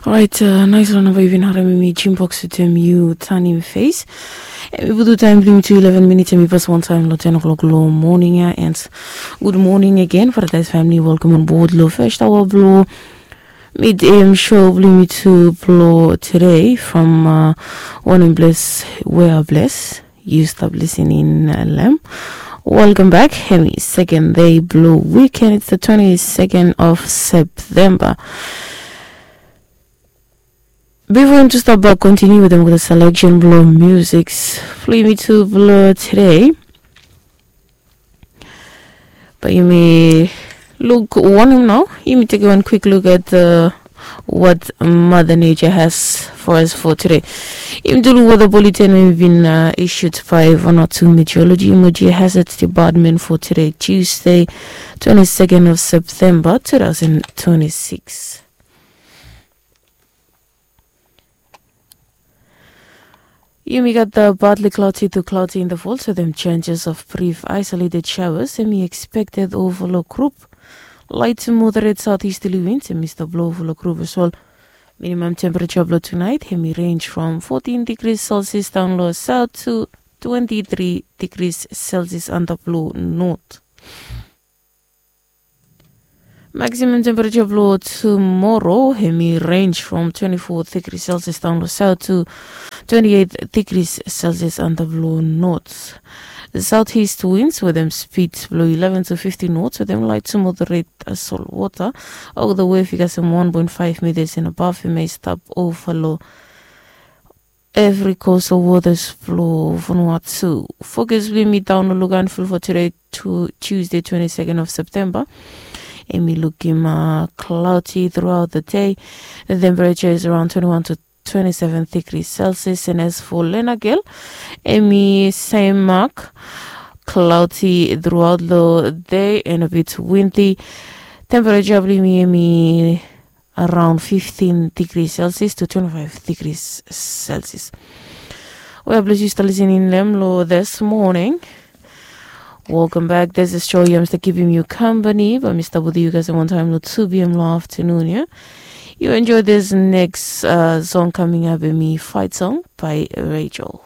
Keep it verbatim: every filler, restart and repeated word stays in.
Orait, nais long namba yu bin harim mi, Jim Box wetem yu tanim fes. Em i putum taim bilong yumi tu eleven minits, em i pas wantaim long ten o'clock long moning ya. And good morning again, Paradise family. Welcome on board long first hour bilong mid am show bilong yumi tu bilong today from uh, One and Bless, We Are Blessed. You stop listening, uh, Lem. Welcome back. Hemi second day blue weekend. It's the twenty-second of September. Before him to stop back, continue with them with the selection blow musics. Flew me to blow today. But you may look one now. You may take one quick look at the what Mother Nature has for us for today. Im dulu weather bulletin we've been uh, issued by Vanuatu Meteorology Emergency Hazards Department for today, Tuesday, twenty-second of September, two thousand twenty-six. Yumi gat the partly cloudy to cloudy in the fall, so them chances of brief isolated showers. Em i expected over lo group. Light to moderate southeasterly winds em i stap blow over lo group as well. Minimum temperature below tonight, em i range from fourteen degrees Celsius down low south to twenty-three degrees Celsius under blow north. Maximum temperature below tomorrow, em i range from twenty-four degrees Celsius down low south to twenty-eight degrees Celsius under blow north. The southeast winds with them speeds below eleven to fifteen knots with them light to moderate uh, salt water. Over the wave, you got some one point five meters and above, you may stop overlow every coastal waters below Vanuatu. Focus will be down Lugan full for today, to Tuesday, twenty-second of September. Em i looking uh, cloudy throughout the day. The temperature is around twenty-one to twenty-seven degrees Celsius. And as for Lenagel, em i same mark, cloudy throughout the day and a bit windy. Temperature bli mi em i around fifteen degrees Celsius to twenty-five degrees Celsius. We are blessed you still listening in Lemlo this morning. Welcome back. This is Show Yams to keeping you company. But Mister Budi, you guys one time lo two p.m. lo afternoon, yeah? You enjoy this next uh, song coming up in me, Fight Song by Rachel.